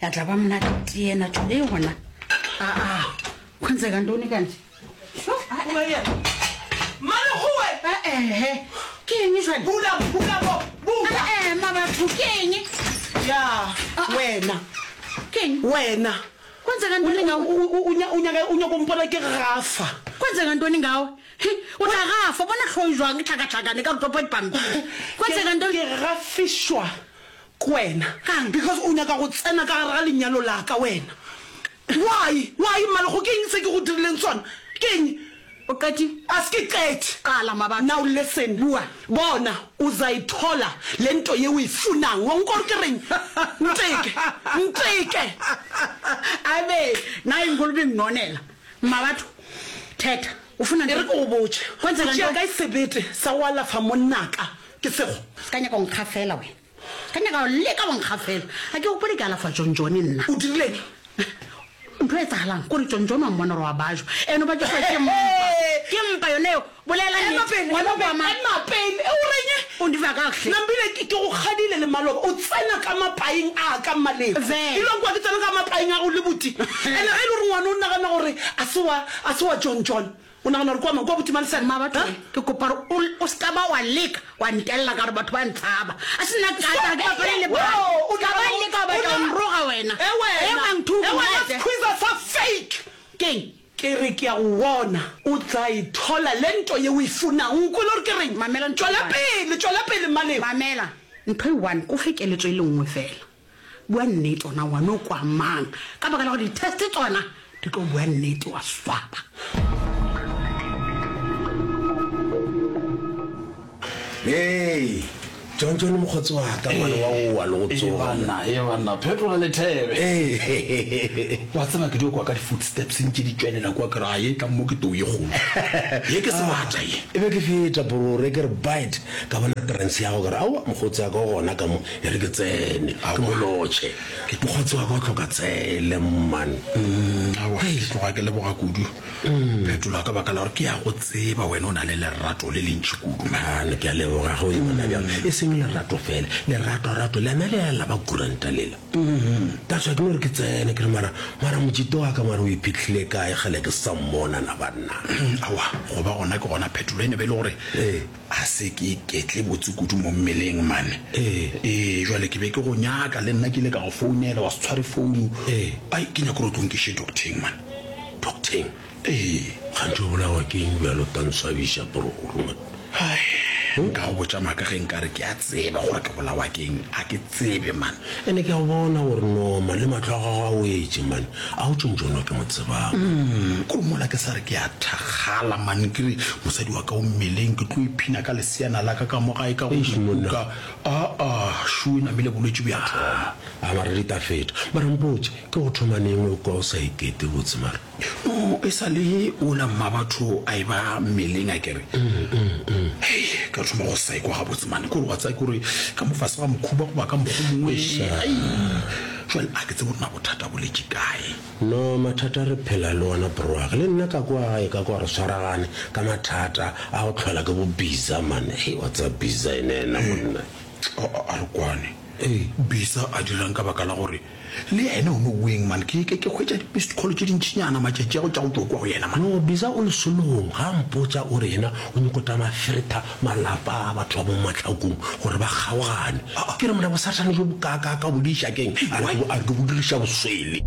Ya tla ba monate tee ena tšo e gona. Aa, kwenzeka ntoni kanje? Sho, Mmalekgowe! Ehe, ke eng jwale? Bula, bula mo, bula! Ee, mabatho, ke eng? Ya, wena. Ke eng? Wena. Kwenzeka ntoni ngawe? O nyaka, o nyaka go mpona ke gafa. Kwenzeka ntoni ngawe? He, o tla gafa, bona hlogo e jwang e tlhakatlhakane ka re topo dipampiri. Kwenzeka ntoni? Ke gafišwa ke wena. Kang? Because o nyaka go tsena ka gare ga lenyalo la ka wena. Why? Why Mmalego ke eng se ke go dirileng sona? Ke eng? O qetile? A se ke qete. Qala mabaka. Now listen. Bua. Bona, uzayithola le nto ye o e funang. Wa nkwa gore ke reng? Nteke. Nteke. Abe, nayi inkulumo inginonela. Mmabatho, thetha. O funa E re ke go botše. Kwenzeka O tšea ntoni? kae sebete sa go alafa monnaka? Ke sego. Se ka nyaka go nkgafela wena. Ka nyaka go leka go nkgafela. Ga ke gopole ke alafa Jonjone nna. O dirileng? Ntho e etsagalang kore Jonjone wa mmona gore wa bajwa. Ene o bajiswa ke mpa. Ke mpa yone eo. Bolela Ema nnete. pele, Ngwana ema o kwa pele, mang? ema pele. E o reng? O ndiva kakuhle. Nambile ke, ke go kgadile le maloba. O tsena ka mapaing a ka Mmaleko. Vele. E le kwa ke tsena ka mapaing a go le buti. Ene ge e le gore ngwana o nagana gore a se wa, a se wa Jonjon. O nagana gore kwa mang? Kwa buti Malesela? Mma batho, ke kopa gore o, o se ka ba wa leka wa ntelela ka gore batho ba ntshaba. A se nna ka tla ke bapale le bana. O Ka ba leka wa batla go nroga wena. E wena. E ungangithuki E wena nete. squeezer sa fake. Keng? Ke re ke a go bona. O tla ithola le nto ye o e funang. O nkwele gore ke reng? Mamela ntho e Tšwela one. pele, tšwela pele, Mmalebo. Mamela ntho e one, ko fe keletso e le nngwe fela. Bua nnete ona wa no kwa mang ka baka la gore di-test tsona di tlo bua nnete wa swaba. Hei, John John mokgotsi wa ka ngwana wa go wa le go Ee tsoga. banna, ee banna, phetola lethebe. Ee. Wa tseba ke dio kwa ka di-footsteps ntše di tšwelela kua ke re a ye tla mo ke tou ye kgolo. Ye ke sebata ye. E be ke feta borore ke re bite ka bona trance ya go ke re aowa mokgotsi wa ka o gona ka mo E re ke tsene, ke mo lotšhe. Mokgotsi wa ka o hloka tsele, man. Aowa, ke tloga ke leboga kudu, Phetola, ka baka la gore ke a go tseba wena o na le lerato le lentši kudu, man. Man, ke a leboga ge o e bona bjalo. E seng lerato fela, leratorato lena le a la ba kuranta lela. That's why ke no re ke tsene, ke re mara, mara motšito wa ka mara o iphihlile kae kgale ke sa mmona na banna. Aowa, go ba gona ke gona, Phetola, e ne be e le gore A se ke iketle botse kudu mo mmeleng, man. Ee. Ee, jwale ke be ke go nyaka, le nna ke ile ka go founela, wa se tshware founu. Ee. Ai, ke nyaka gore o tlo nkiše docteng, man. Docteng? Ee. Kganthe o bolawa ke eng bjalo, o tla nswabiša, bro, man. Ai, nka go botša maaka ge nkare ke a tseba gore ke bolawa ke eng. A ke tsebe, man. Ene ke a go bona gore no, man, le mahlo a gago a wetše, man. A o tšontšono ke mo tsebang. Umm, kore mola ke sa re ke a thakgala man, ke re mosadi wa ka o mmeleng, ke tlo iphina ka leseana la ka ka mo gae ka go Eish monna. kuka. Aa, šo e namile bolwetši bo ya thoma. A mara di ta feta. Mara mpotše, ke go thoma neng o kwa o sa ikete botse mara? No, e sa le ola mmabatho a eba mmeleng akere. Hei, ka thoma go sa ikwa gabotse man, kore wa tseba kore ka mo fase ga mokhuba goba ka mokgwa o mongwe. Ai, jwale a ke tsebe gore na bothata bo letše kae. No, mathata re phela le ona bro wa ka. Le nna ka kwa gae ka kwa re swaragane ka mathata a go tlhola ke bo Biza man. Hei, wa tseba Biza ene ena monna. A, a re kwane. Biza a dirang ka baka la gore Le yena o no weng man, ke, ke, ke hwetša di-missed call tše dintšinyana matšatši a go tša go tšwa kua go yena man. No, Biza o lesolong, ga a mpotša o re yena o nyoko tama feretha malapa a batho ba mo mahlakong gore ba kgaogane. Ke re mona bosathane bjo bokaakaaka o bo diša ke'ng? A re ke, a re ke bo diriša boswele.